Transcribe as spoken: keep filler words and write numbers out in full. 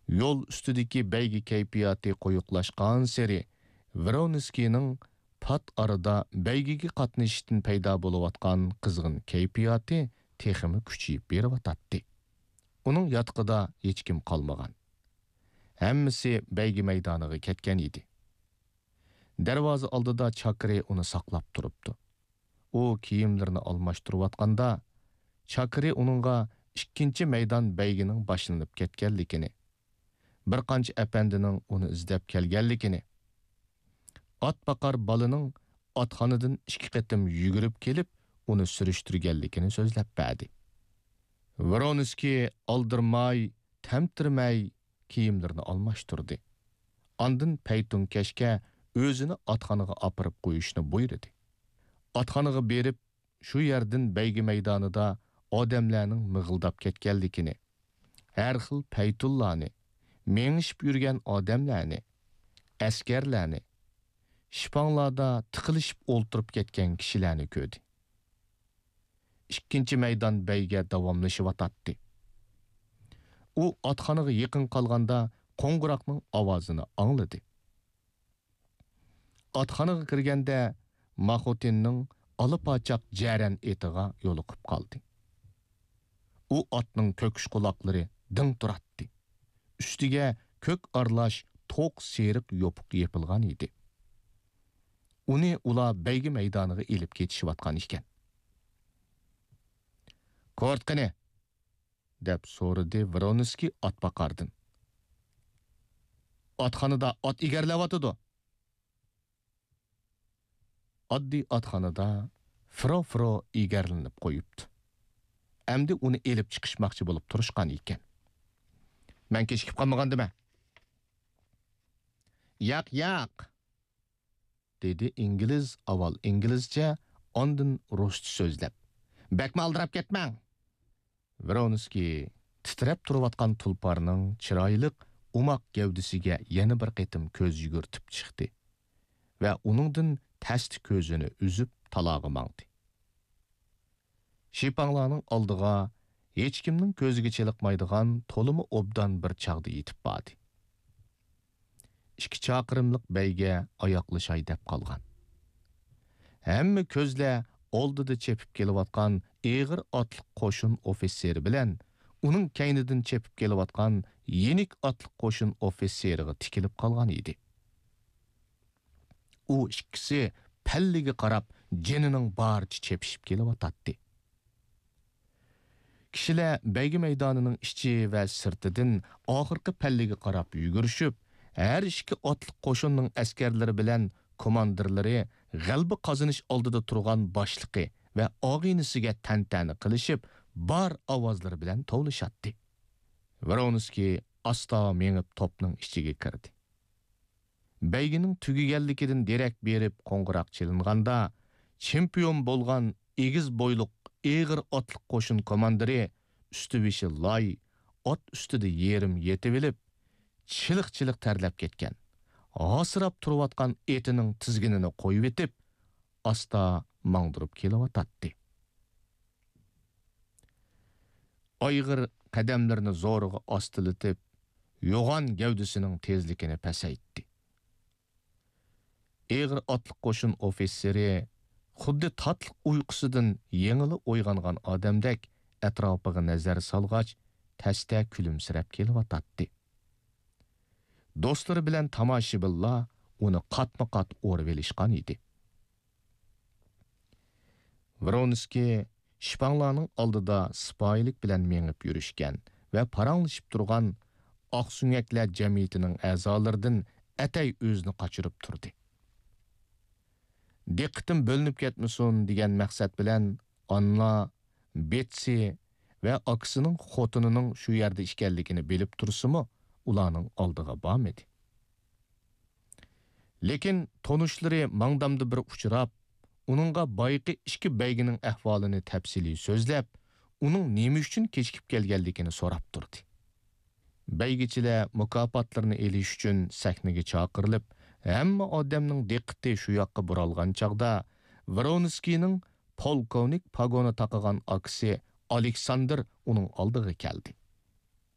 يول ئۈستىدىكى بەيگە كەيپىياتى قويۇقلاشقانسېرى، ۋرونسكىينىڭ پات ئارىدا بەيگىگە قاتنىشىشتىن پەيدا بولۇۋاتقان قىزغىن كەيپىياتى تېخىمۇ كۈچىيىپ بېرىۋاتاتتى. ئۇنىڭ ياتىقىدا ھېچكىم قالمىغان. ھەممىسى بەيگە مەيدانىغا كەتكەن ئىدى. دەرۋازا ئالدىدا چاكىرى ئۇنى ساقلاپ تۇرۇپتۇ. ئۇ كىيىملىرىنى ئالماشتۇرۇۋاتقاندا، چاكىرى ئۇنىڭغا ئىككىنچى مەيدان بەيگىنىڭ باشلىنىپ كەتكەنلىكىنى، بىر قانچە ئەپەندىنىڭ ئۇنى ئىزدەپ كەلگەنلىكىنى، ئات باقار بالىنىڭ ئاتخانىدىن ئىككى قېتىم يۈگۈرۈپ كېلىپ، ئۇنى سۈرۈشتۈرگەنلىكىنى سۆزلەپ بەردى. ۋرونسكىي ئالدىرىماي، تەمتىرىمەي كىيىملىرىنى ئالماشتۇردى. ئاندىن پەيتۇنكەشكە ئۆزىنى ئاتخانىغا ئاپىرىپ قويۇشنى بۇيرۇدى. ئاتخانىغا بېرىپ، شۇ يەردىن بەيگە مەيدانىدا ئادەملەرنىڭ مىغىلداپ كەتكەنلىكىنى، ھەر خىل پەيتۇنلارنى، مېڭىشىپ يۈرگەن ئادەملەرنى، ئەسكەرلەرنى، شىپاڭلاردا تىقىلىشىپ ئولتۇرۇپ كەتكەن كىشىلەرنى كۆردى. ئىككىنچى مەيدان بەيگە داۋاملىشىۋاتاتتى. ئۇ ئاتخانىغا يېقىن قالغاندا قوڭغۇراقنىڭ ئاۋازىنى ئاڭلىدى. ئاتخانىغا كىرگەندە ماخوتىننىڭ ئالا پاچاق جەرەن ئېتىغا يولۇقۇپ قالدى. ئۇ ئاتنىڭ كۆكۈش قۇلاقلىرى دىڭ تۇراتتى. ئۈستىگە كۆك ئارىلاش توق سېرىق يوپۇق يېپىلغان ئىدى. ئۇنى ئۇلار بەيگە مەيدانىغا ئېلىپ كېتىشىۋاتقان ئىكەن. «كورت قېنى؟» دەپ سورىدى ۋرونسكىي ئاتباقاردىن. «ئاتخانىدا ئات ئېگەرلەۋاتىدۇ.» ئاددىي ئاتخانىدا فرو-فرو ئېگەرلىنىپ قويۇپتۇ. ئەمدى ئۇنى ئېلىپ چىقىشماقچى بولۇپ تۇرۇشقان ئىكەن. «مەن كېچىكىپ قالمىغاندىمەن؟» «ياق، ياق!» دېدى ئىنگلىز ئاۋۋال ئىنگلىزچە، ئاندىن رۇسچە سۆزلەپ. «بەكمۇ ئالدىراپ كەتمەڭ!» ۋرونسكىي تىترەپ تۇرۇۋاتقان تۇلپارنىڭ چىرايلىق، ئوماق گەۋدىسىگە يەنە بىر قېتىم كۆز يۈگۈرتۈپ چىقتى ۋە ئۇنىڭدىن تەستە كۆزىنى ئۈزۈپ تالاغا ماڭدى. شىپاڭلارنىڭ ئالدىغا ھېچكىمنىڭ كۆزىگە چېلىقمايدىغان تولىمۇ ئوبدان بىر چاغدا يېتىپ باردى. ئىككى چاقىرىملىق بەيگە ئاياغلىشاي دەپ قالغان. ھەممە كۆزلەر ئالدىدا چېپىپ كېلىۋاتقان ئېغىر ئاتلىق قوشۇن ئوفىتسېرى بىلەن ئۇنىڭ كەينىدىن چېپىپ كېلىۋاتقان يېنىك ئاتلىق قوشۇن ئوفىتسېرىغا تىكىلىپ قالغان ئىدى. ئۇ ئىككىسى پەللىگە قاراپ جېنىنىڭ بارىچە چېپىشىپ كېلىۋاتاتتى. كىشىلەر بەيگە مەيدانىنىڭ ئىچى ۋە سىرتىدىن ئاخىرقى پەللىگە قاراپ يۈگۈرۈشۈپ، ھەر ئىككى ئاتلىق قوشۇننىڭ ئەسكەرلىرى بىلەن كوماندىرلىرى غەلىبە قازىنىش ئالدىدا تۇرغان باشلىقى ۋە ئاغىنىسىگە تەنتەنە قىلىشىپ، بار ئاۋازلىرى بىلەن توۋلىشاتتى. ۋرونسكىي ئاستا مېڭىپ توپنىڭ ئىچىگە كىردى. بەيگىنىڭ تۈگىگەنلىكىدىن دېرەك بېرىپ قوڭغۇراق چېلىنغاندا، چېمپىيون بولغان ئېگىز بويلۇق ئېغىر ئاتلىق قوشۇن كوماندىرى، ئۈستى-بېشى لاي، ئات ئۈستىدە يېرىم يېتىۋېلىپ، چىلىق-چىلىق تەرلەپ كەتكەن، ھاسىراپ تۇرۇۋاتقان ئېتىنىڭ تىزگىنىنى قويۇۋېتىپ، ئاستا ماڭدۇرۇپ كېلىۋاتاتتى. ئايغىر قەدەملىرىنى زورىغا ئاستىلىتىپ، يوغان گەۋدىسىنىڭ تېزلىكىنى پەسەيتتى. ئېغىر ئاتلىق قوشۇن ئوفىتسېرى خۇددى تاتلىق ئۇيقۇسىدىن يېڭىلا ئويغانغان ئادەمدەك ئەتراپىغا نەزەر سالغاچ، تەستە كۈلۈمسىرەپ كېلىۋاتاتتى. دوستلىرى بىلەن تاماشىبىنلار ئۇنى قاتمۇ قات ئورىۋېلىشقان ئىدى. ۋرونسكىي شىپاڭلارنىڭ ئالدىدا سىپايىلىك بىلەن مېڭىپ يۈرۈشكەن ۋە پاراڭلىشىپ تۇرغان ئاقسۆڭەكلەر جەمئىيىتىنىڭ ئەزالىرىدىن ئەتەي ئۆزىنى قاچۇرۇپ تۇردى. دىققىتىم بۆلۈنۈپ كەتمىسۇن دېگەن مەقسەت بىلەن ئاننا، بېتسى ۋە ئاكىسىنىڭ خوتۇنىنىڭ شۇ يەردە ئىكەنلىكىنى بىلىپ تۇرسىمۇ، ئۇلارنىڭ ئالدىغا بارمىدى. لېكىن تونۇشلىرى ماڭدامدا بىر ئۇچراپ، ئۇنىڭغا بايىقى ئىككى بەيگىنىڭ ئەھۋالىنى تەپسىلىي سۆزلەپ، ئۇنىڭ نېمە ئۈچۈن كېچىكىپ كەلگەنلىكىنى سوراپ تۇردى. بەيگىچىلەر مۇكاپاتلىرىنى ئېلىش ئۈچۈن سەھنىگە چاقىرىلىپ، ھەممە ئادەمنىڭ دىققىتى شۇ ياققا بۇرالغان چاغدا، ۋرونسكىينىڭ پولكوۋنىك پاگونى تاقىغان ئاكىسى ئالېكساندىر ئۇنىڭ ئالدىغا كەلدى.